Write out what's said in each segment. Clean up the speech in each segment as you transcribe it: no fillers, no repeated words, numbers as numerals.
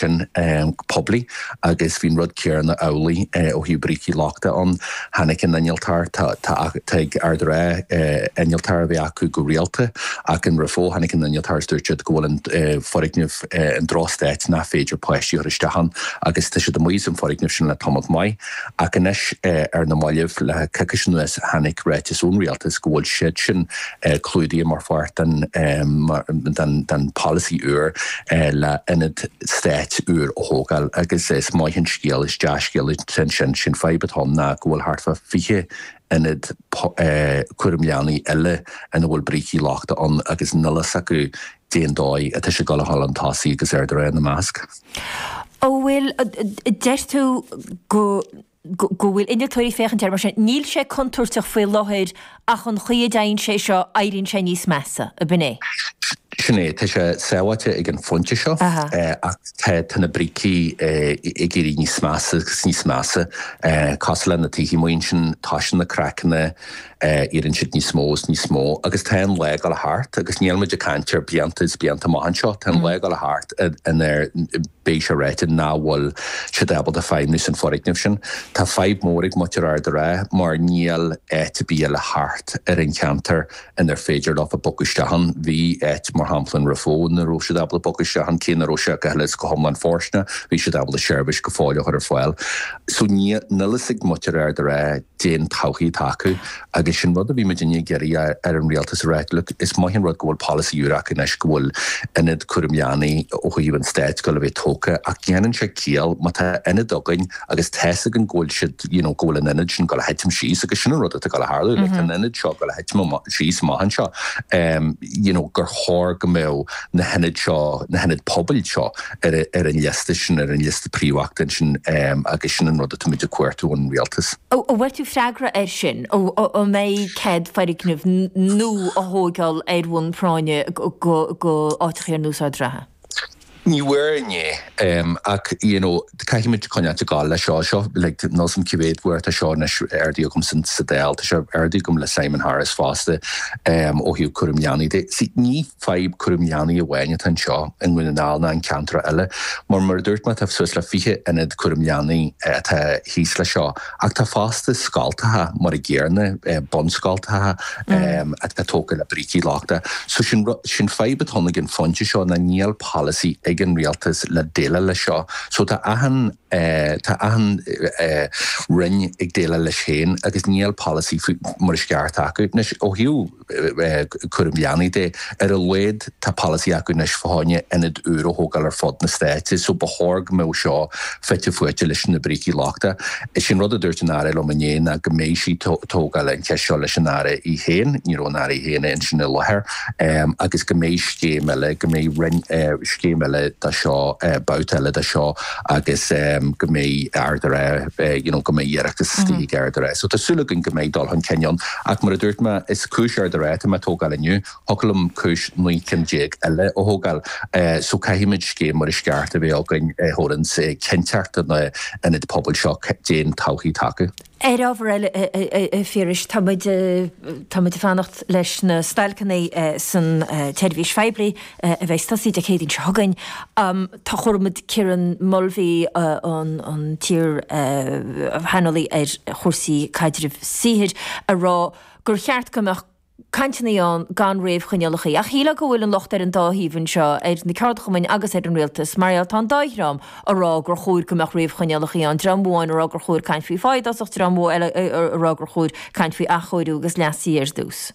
sin poiblí agus bhí an rud céanna amhlaidh ó thaobh brící lochta ann. Tháinig an innealtóir, tá ag Ard an Rátha innealtóir a bheith acu go rialta ach in Raphoe tháinig an innealtóir is dúirt siad go bhfuil an foirgneamh i ndrochstaid nach féidir páistí a chur isteach ann agus tá siad amuigh as an foirgneamh sin le tamalt maith. Ach anois ar na mallaibh le coicís anuas tháinig ráiteas ón rialtas go bhfuil siad sin clúdaithe mar pháirt den den pholasaí úr le ionad stáit úr a thógáil agus is maith an scéal, is dea-scéal é sin. Sé'n fadhb atá ann ná go bhfuil thart fá 20 ionad cúram leanaí eile ina bhfuil brící lochta ann agus níl fhios acu cén dóigh atá sé ag dul a dhul chun tosaigh agus Ard an Rátha ina measc. An bhfuil, deir tú go go bhfuil innealtóirí ag féachaint air mar sin. Níl sé contúirteach faoi láthair ach an chaoi a dtéann sé seo éiríonn sé níos measa, ab in é? Sin é, tá sé sábháilte ag an phointe seo ach tá na brící ag éirí níos measa agus níos measa. Cosúil le na tithe amuigh ansin, toisíonn na craiceanna, éiríonn siad níos mó is níos mó agus tá an lá ag dul thart agus níl muid ag caint ar blianta is blianta amach anseo, tá an lá ag dul thart inar beidh sé ráite nach bhfuil siad ábalta feidhmiú san foirgneamh sin. Tá fadhb mór ag muintir Ard an Rátha mar níl áit ar bith eile thart ar an cheantar inar féidir leofa bogadh isteach ann. Bhí áit, mar shampla in Raphoe, ina raibh siad ábalta bogadh isteach ann, cé nach raibh sé go huile is go hiomlán fóirsteanach, bhí siad ábalta seirbhís go fóill a chur ar fáil. So níl fhios ag muintir Ard an Rátha cén todhchaí atá acu agus sin rud a bhí muidinne ag iarraidh ar an rialtas a rá, look, is maith an rud go bhfuil polasaí úr acu anois, go bhfuil ionad cúram leanaí ó thaobh an stáit ag dul a bheith tógtha ach déanann sé ciall má tá ionad againn agus tá's againn go bhfuil siad, you know, go bhfuil an ionad sin ag dul a thitim síos agus sin an rud atá ag dul a tharlú, like tá an ionad seo ag dul a thitim síos amach anseo, you know, gur chóir go mbeadh na hionaid seo, na hionaid pobail seo ar an liosta sin, ar an liosta príomhachta sin agus sin an rud atá muid ag cuartú ón rialtas. An bhfuair tú freagra air sin? An mbeidh cead foirgneamh nua a thóigeáil ar bhonn práinne go áiteachaí ar nós Ard an Rátha? Ní bhfuair inné ach you know caithfidh muid coinneáilt ag gabháil leis seo. Seo like níl 's a'm cé mhéad uair atá seo anois ardaithe agam sa Dáil, tá sé ardaithe agam le Simon Harris fosta ó thaobh cúram leanaí de. See ní fadhb cúram leanaí amháin atá anseo i nDún na nGall ná in ceantracha eile. Mar mar a dúirt mé tá suas le 20 ionad cúram leanaí atá thíos leis seo ach tá fosta scoltacha mar a gcéanna, bunscoltacha atá tógtha le brící lochta. So sin sin fadhb atá ann ag an phointe seo ná níl polasaí ag an rialtas le déileáil leis seo. So tá achan tá achan roinn ag déileáil leis féin agus níl polasaí mar is ceart acu. Anois ó thaobh cúram leanaí de. Ar a laghad tá polasaí acu anois fá choinne ionad úr a thógáil ar fud na stáite so ba chóir go mbeadh seo fite fuaite leis na brící lochta. Is é an rud a dúirt an Aire liom inné ná go mbeidh sí ag tógáil an cheist seo leis an Aire í féin, ní raibh an Aire í féin ansin i láthair, agus go mbeidh scéim eile, go mbeidh roinn, scéim eile de seo, babhta eile de seo agus go mbeidh Ard an Rátha, you know, go mbeidh iarratas istigh ag Ard an Rátha. So tá súil againn go mbeidh dul chun cinn ann. Ach mar a dúirt mé, is cúis Ard an Rátha atá mé ag tógáil inniu, thiocfadh liom cúis 19 cinn eile a thógáil. So caithfimid scéim mar is ceart a bheith againn a thabharann cinnteacht do na hionaid pobail seo cén todhchaí atá acu. Ar ábhar eile, a Phiarais, tá muid tá muid ag fanacht leis na stailceanna san tseirbhís phoiblí a bheidh ag tosaí Dé Céadaoin seo chugainn. Tá chuala muid Kieran Mulvey, an t-iar-shaineolaí ar chúrsaí caidrimh saothair, ag rá gur cheart go mbeadh cainteanna ann gan réamhchoinníollacha. Ach shílfeá go bhfuil an locht ar an dá thaobh anseo, ar na ceardchumainn agus ar an rialtas, mar gheall tá an dá dhream ag rá gur chóir go mbeadh réamhchoinníollacha ann, dream amháin ag rá gur chóir caint faoi phá i dtosach, dream eile ag rá gur chóir caint faoi athchóiriú agus leasuithe ar dtús.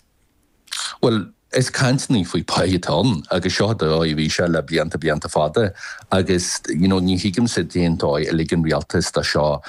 Bhuel, is cainteanna faoi pá atá ann agus seo an dóigh a bhí sé le blianta blianta fada agus you know ní thuigimse cén dóigh a lig an rialtas do seo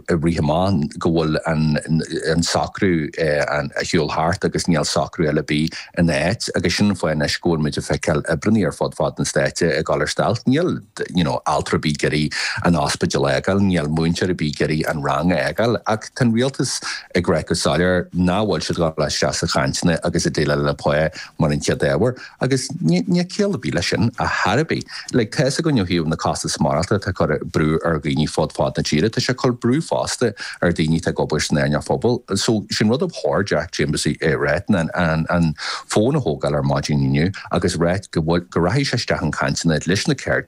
rith amach go bhfuil an socrú ar shiúl thart agus níl socrú eile ar bith ina áit agus sin an fáth anois go bhfuil muid ag feiceáil oibreanna ar fud fad na stáite ag dul ar stailc. Níl you know altra ar bith ag iarraidh an ospidéal a fhágáil, níl múinteoir ar bith ag iarraidh an rang a fhágáil ach tá an rialtas ag rá go soiléir nach bhfuil siad ag dul isteach sa chaint. cainteanna agus ag déileáil le pá mar an chéad ábhar. Agus níl ciall ar bith leis sin ar chor ar bith. Like, tá fhios againn ó thaobh na costas maireachtála atá ag cur brú ar dhaoine fud fad na tíre, tá sé ag cur brú fosta ar dhaoine atá ag obair san earnáil phobail. So, sin rud ab chóir Jack Chambers a ráit ná an an fón a thógáil ar maidin inniu agus ráit go bhfuil, go rachaidh sé isteach in cainteanna leis na ceird.